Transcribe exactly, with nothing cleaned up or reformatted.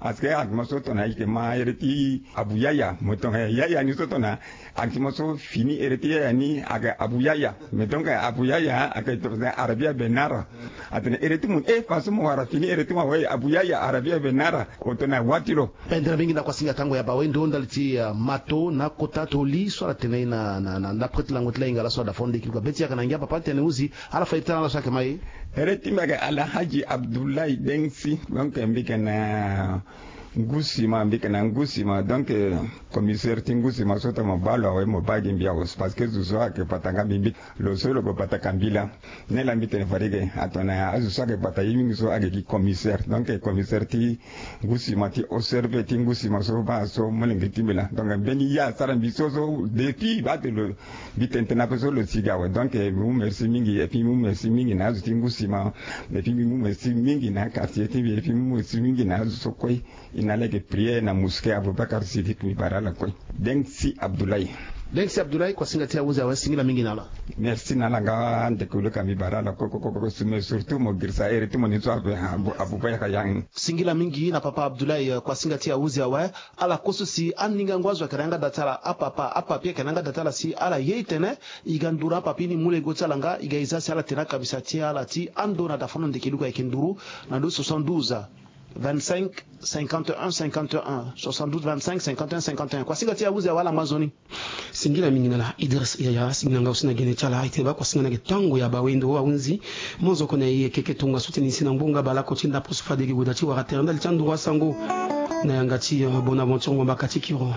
Parce que ake mo so tona ike ma ere ti abu yaya mo tona yaya ni so tona. Ake mo so fini ere ti yaya ni ake abu yaya. Mais donc abu yaya ake arabia benara. Atene ere ti mo e fa so mo wara fini ere ti mo awe abu yaya arabia benara. Otona watiro. Pendere mingi na kuasinga tango ya bawe ndo ndali ti mato na kota toli so ala tene na na na prete lango ti la inga la so ada fondo ekili kua be ti yaka na ngia papa tene uzi. Ala fa iri tana ala so ake ma e. Ere ti mbi ake alhaji abdoulaye dengsi donc mbi ke na ngusima mbi ke na ngusima donc commissaire ti ngusima so ta mo baa lo awe mo baa gi mbi awe. Parce que zo so ake pata nga mbi mbi lo so lo ko pata ka mbi la. Nde la mbi tene fade ke atona azo so ake pata ye mingi so ake gi commissaire donc commissaire ti ngusima ti osserve ti ngusima so baa so molenge ti mbi la donc mbeni ye asara mbi so so depuis baa te lo mbi tene tene ape so lo si ga awe donc mbi mu merci mingi et puis mbi mu merci mingi na azo ti ngusima. Et puis mbi mu merci mingi na quartier ti mbi et puis mbi mu merci mingi na azo so kue. I na lege priere na mosquée aboubacar sidik mbi bara ala kue. Dengsi abdoulaye. Dengsi abdoulaye kuasinga ti ahuzi awe singila mingi na ala. Merci na ala nga ndeko luka mbi bara ala kue kue kue kue sume surtout mo girisa ere ti mo ni so ape aboubacar yang. Singila mingi na papa abdoulaye kuasinga ti ahuzi awe. Ala kue so si aningangu azo ayeke na yanga da ti ala apapa apapi ayeke na yanga da ti ala si ala ye itene. I ga nduru na apapi ni mu lego ti ala nga i ga e za si ala tene akabisa ti ala ti ando na dafono ndeke luka ayeke nduru na ndo soixante-douze vingt-cinq cinquante et un cinquante et un soixante-douze vingt-cinq cinquante et un cinquante et un kuasinga ti ahuzi awe ala ngba nzoni. Singila mingi na ala idris yaya singila nga aussi na gene ti ala aye tene baa kuasinga na yeke tango ya bawendo ahunzi. Mo nzoko na e yeke yeke tongaso ti ni si na ngbonga baleoko ti ndapre so fade yeke gue daa ti wara tere ndali ti anduru asango. Na yanga ti bonaventure ngbambaka ti kiro.